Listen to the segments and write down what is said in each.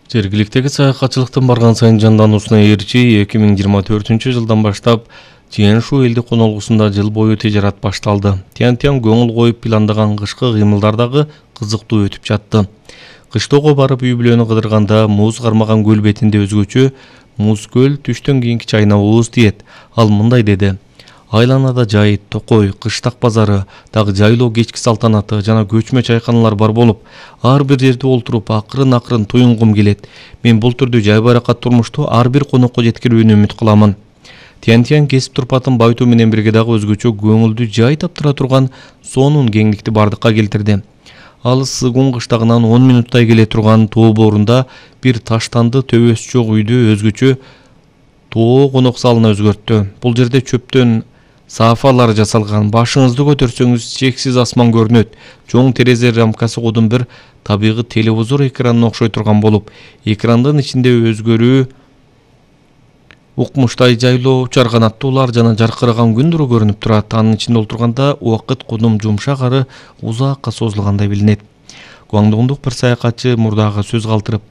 Жергиликтеги саякатчылыктын барган сайын жандануусуна ээрчи 2024-жылдан баштап Тянь-Шу элди конолгусунда жыл бою тижарат башталды. Тянь-Тянь көңүл коюп пландаган кышкы кыймылдар дагы кызыктуу өтүп жатты. Кыштоого барып үй-бүлөнү кыдырганда муз кармаган көл бетинде өзгөчө муз көл түштөн кийинки чайнабыбыз тиет. Ал мындай деди: айланада жайыт, токой, кыштак базары, дагы жайлоо кечки салтанаты жана көчмө чайканалар бар болуп, ар бир жерде олтуруп акырын туюнгум келет. Мен бул түрдүү жай баракат турмушту ар бир конокко жеткирүүнү үмүт кыламын. Тянь-Тянь кесип турпатын байытуу менен бирге дагы өзгөчө көңүлдү жай таптыра турган сонун кеңдикти бардыкка келтирди. Ал Сыгун кыштагынан 10 минуттай келе турган тоо боорунда бир таштанды төбөсү жок үйдү өзгөчө тоо конок залына өзгөрттү. Бул жерде чөптөн саафалар жасалган, башыңызды көтөрсөңүз чексиз асман көрүнөт. Чоң терезе рамкасы кодун бир табигый телевизор экранына окшой турган болуп, экрандын ичинде өзгөрүү укмуштай жайлоо, учар канаттуулар жана жаркыраган күн нуру көрүнүп турат. Анын ичинде олтурганда убакыт кудум жумшак ары узакка созулгандай билинет. Гуаңдоңдук бир саякатчы мурдага сөз калтырып: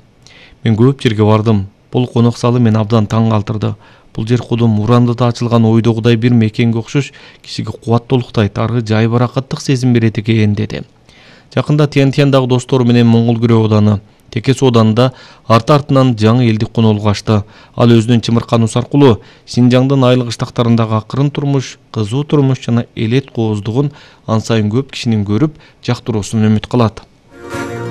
"Мен көп жерге бардым. Бул конок залы мени абдан таң калтырды. Бул жер кудум урандыда ачылган ойдогудай бир мекенге окшош кишиге кубаттуулуктайт, ары жай баракаттык сезим берет экен", деди. Жакында Тянь-Тяньдагы достору менен Моңгол Күрөө ооданы, Текес оодунда арты-артынан жаңы элдик конолук ачты. Ал өзүнүн чымыркануусу аркылуу Синжаңдын айыл кыштактарындагы акырын турмуш, кызуу турмуш жана элет кооздугун ан сайын көп кишинин көрүп, жактыруусун үмүт кылат.